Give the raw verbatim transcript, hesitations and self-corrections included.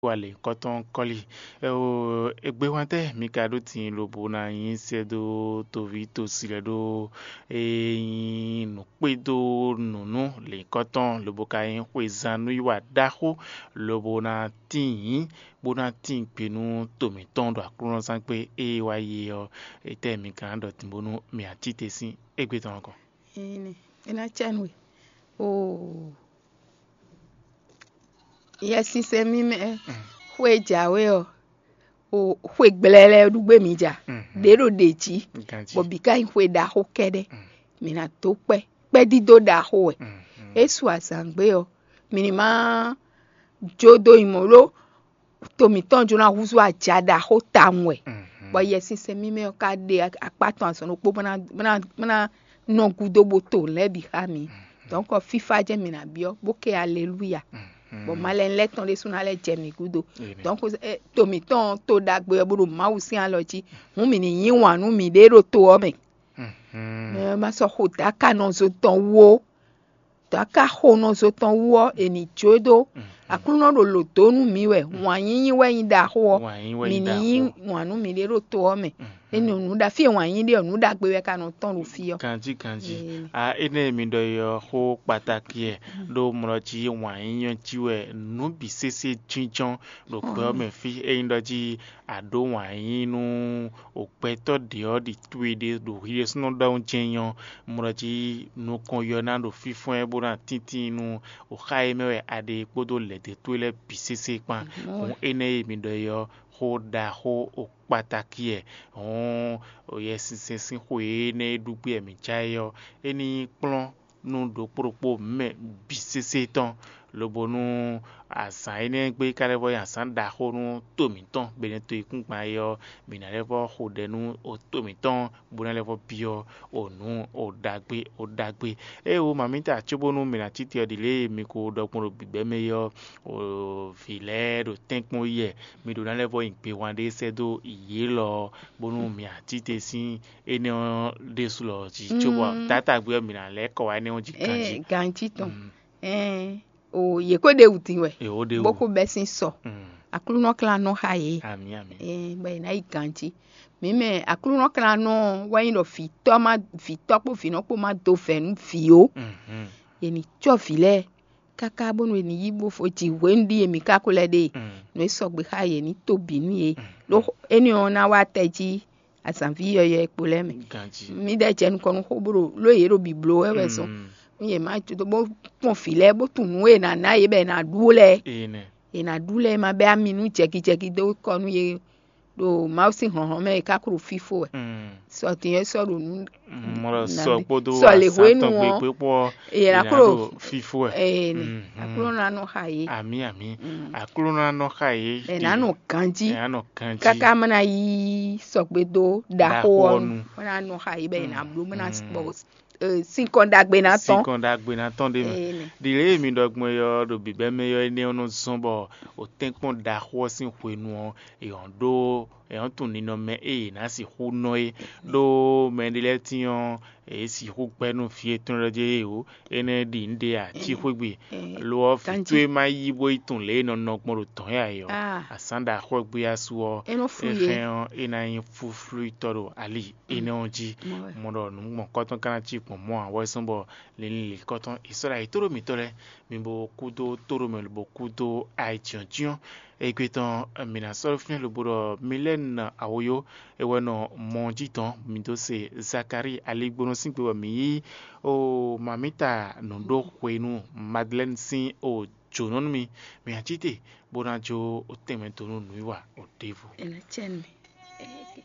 wa lěhunkɔtɔn kɔ́li. Égbé hwɛ́ntɛ́ mi ka ɖó din lobo ná nyí sɛ́ dó toví tosi lɛ́ɛ ɖó e nyí nǔkpédó nǔnú lěhunkɔtɔn lobo ka nyí xwezán nú yi wa ɖaxó lobo ná tíin bó ná tíin gbe nú to mǐtɔn ɖo aklúnɔzángbe e wá yi é ɔ́, etɛ́ mi ka ná ɖɔ din bónú mǐ a cí te sín égbé tɔn ɔ́ kɔn? Ine, é ná cɛ nú we. Oo, Yɛsinsɛn mímɛ́ xwe jǎwe ɔ́, o xwe gblɛlɛ ɖu gbé mi ja. Ɖě ɖo ɖě jí, bɔ bǐ ka nyí xwe ɖaxó kɛ́ɖɛ́. Mǐ ná dó kpɛ́ kpɛ́dídó ɖaxó wɛ. É su azǎn gbé ɔ́, mǐ ní má jó dó nyi mɔ̌ ɖó to mǐtɔn jó ná húzú aja ɖaxó tawun wɛ. Bɔ Yɛsinsɛn mímɛ́ ɔ́ ka ɖe akpá tɔn azɔn ɖokpó bó ná bó ná bó ná nɔ gúdo bó to lɛ́ɛ bǐ xá mǐ. Dɔ̌nkɔ fífá jɛ́n mǐ ná byɔ́ bó kɛ aleluya. Bɔ malɛnu lɛ́ɛ tɔn ɖésú ná lɛ́ jɛ mǐ gúdo. Dɔ̌nkɔ to mǐtɔn to ɖagbe ɔ́ bó ɖo Mawu sín alɔ jí. Hǔn mǐ ní yí wǎn nú mǐɖée ɖo to ɔ́ mɛ. Mɛ ɔ́ ma sɔ́ xo dǎkanɔzo tɔn wú ó. Dǎkaxonɔzo tɔn wú ɔ́, è nǐ jó dó. Aklúnɔ ɖo lǒ dó nú mǐ wɛ. Wǎn yíyí wɛ nyí ɖaxó ɔ́. Mǐ ní yí wǎn nú mǐɖée ɖo to ɔ́ mɛ. É nɔ nǔ ɖa fí e wǎn yíyí ɖe ɔ́, nǔ ɖagbe wɛ ka nɔ tɔ́n ɖo fí ɔ́. Ganjí ganjí. A énɛ́ e mi ɖɔ é ɔ́, xó kpatáki wɛ, ɖó mlɔ jí wǎn yíyí ɔ́ jí wɛ nǔ bǐ sésé jínjɔ́n ɖo gbɛ ɔ́ mɛ fí. Ényí ɖɔ jí a ɖǒ wǎn yíyí nú o gbɛtɔ́ ɖě ɔ́ ɖi towe ɖe ɖo hwi ɖésúnɔ ɖɔhun jɛ́n nyí ɔ́, mlɔ jí nukɔn yɔ ná ɖo fínfɔ́n ɛ bó ná tíntín nú o xá e mɛ wɛ a ɖe kpódó lɛ̌dɛ́ towe lɛ́ɛ bǐ sésé kpán. Hǔn énɛ́ e mi ɖɔ é ɔ́, xó ɖaxó o kpatáki wɛ. Hǔn o Yɛsinsɛn sín xwe énɛ́ e ɖu gbé wɛ mǐ já é ɔ́, é ní nyí kplɔ́n nú ɖokpó ɖokpó mɛ bǐ sésé tɔn, lobo nú azǎn énɛ́ gbe ka lɛ́ vɔ nyí azǎn ɖaxó nú to mǐtɔn, bɔ è nɔ to yíkúngban é ɔ́, mǐ ná lɛ́ vɔ xo ɖɛ nú o to mǐtɔn, bó ná lɛ́ vɔ byɔ́ o nǔ o ɖagbe o ɖagbe. Ée wo mamǐta cóbónú mǐ ná cí te ɔ́ ɖi lě e mi ko ɖɔ gbɔn ɖo bǐbɛ́ mɛ é ɔ́, o vǐ lɛ́ɛ ɖo tɛ́nkpɔ́n yi wɛ, mi ɖó ná lɛ́ vɔ nyi gbehwan ɖé sɛ́ dó yě lɔ ɔ́, bónú mǐ a cí te sín énɛ́ ɔ́ ɖésú lɔ jí, cóbɔ taátagbe ɔ́ mǐ ná lɛ́ kɔ wá énɛ́ ɔ́ jí ganjí. Ganjí tɔn. Ɛɛn, o yě ko ɖe wǔ din wɛ, bó ko bɛ́ sín sɔ. Aklúnɔ klán nɔ xa yě. Amǐ amǐ. Ɛɛn, bɔ yě ná yi ganjí. Mǐ mɛ Aklúnɔ klán nɔ wɛ nyí ɖɔ vǐtɔ́ má vǐtɔ́ kpó vǐnɔ kpó má dó vɛ̌ nú vǐ ó. Yě ní cɔ́ vǐ lɛ́ɛ káká bónú è nǐ yí bó fó jǐ hwenu ɖíe mǐ ka ko lɛ́ ɖe. Nǔ e sɔgbe xá yě ní to bǐ nú yě. Ɖó énɛ́ ɔ́ ná wá tɛ jí azǎnví yɔyɔ́ e kpo lɛ́ɛ mɛ. Ganjí. Mǐdɛɛ jɛ nukɔn nú xó bó ɖo ló yě ɖo bǐbló wɛ wɛ zɔn. Nú yě má jó bó kpɔn vǐ lɛ́ɛ bó tunwun nǔ e è nǎ ná yě bɔ è nǎ ɖú lɛ́ɛ. Ene. È nǎ ɖú lɛ́ɛ ma bɛ́ ami nú jɛgijɛgi dó kɔ nú yě ɖo Mawu sín hlɔ̌nhlɔ́n mɛ è ka ko ɖo fífó wɛ. Sɔ din e sɔ́ ɖo nǔ mɔ sɔ kpódó sɔ lě hwenu ɔ́, gbégbé kpó è nǎ ko ɖo fífó wɛ. Ene. Aklúnɔ ná nɔ xa yě. Amǐ amǐ. Aklúnɔ ná nɔ xa yě. È nǎ nɔ ganjí. È nǎ nɔ ganjí. Káká má ná yí sɔgbe dó ɖaxó ɔ́ nu. Má ná nɔ xa yě bɔ è nǎ bló má ná bɔ sinkɔn ɖagbe ná tɔn. Sinkɔn ɖagbe ná tɔn ɖé mɛ. Ɖi lě e mi ɖɔ gbɔn é ɔ́ ɖo bǐbɛ́ mɛ ɔ́, énɛ́ ɔ́ nɔ zɔ́n bɔ o tɛ́nkpɔ́n ɖaxó ɔ́ sín hwenu ɔ́, è hɔn ɖó è hɔn tunwun ninɔmɛ e è nǎ sixú nɔ é. Ɖó mɛ ɖé lɛ́ɛ tín ɔ́, è sixú gbɛ́ nú vǐ yětɔn lɛ́ɛ jí ée o, énɛ́ ɖi nǔɖé ǎ, cí xwé gbe. Lo ɔ́, vǐ towe ma yí bó yi tunwun lě e è nɔ nɔ gbɔn ɖo dɔ̌n yá é ɔ́, azǎn ɖaxó ɔ́ gbé asú ɔ́, é hɛn ɔ́, é ná nyí flúflúyítɔ́ ɖo ali énɛ́ ɔ́ jí. Mɔ ɖɔ nǔ gbɔn kɔ́tɔn ka ná cí gbɔn mɔ̌ ǎ, wɛ zɔ́n bɔ linlin lǐkɔ́tɔn è sɔ́ ɖo ayǐ tóɖó mǐtɔn lɛ́ɛ, mi bo kú dó tóɖó mɛ lobo kú dó ayǐjínjɔ́n. Égbé tɔn mǐ ná sɔ́ fínɛ́ lobo ɖɔ Milɛ́nu Awoyó é wɛ nɔ mɔ jí dɔn mǐ dó se Zakalíi aligbónɔ sín gbe bɔ mǐ yí o mamǐta nǔɖoxwenu Madlɛ́nu sín o jǒnɔ nú mì. Mǐ ná cí te bó ná jó o tɛnmɛ dó nú nǔwiwa o ɖěvo. È nǎ cɛ nú mì.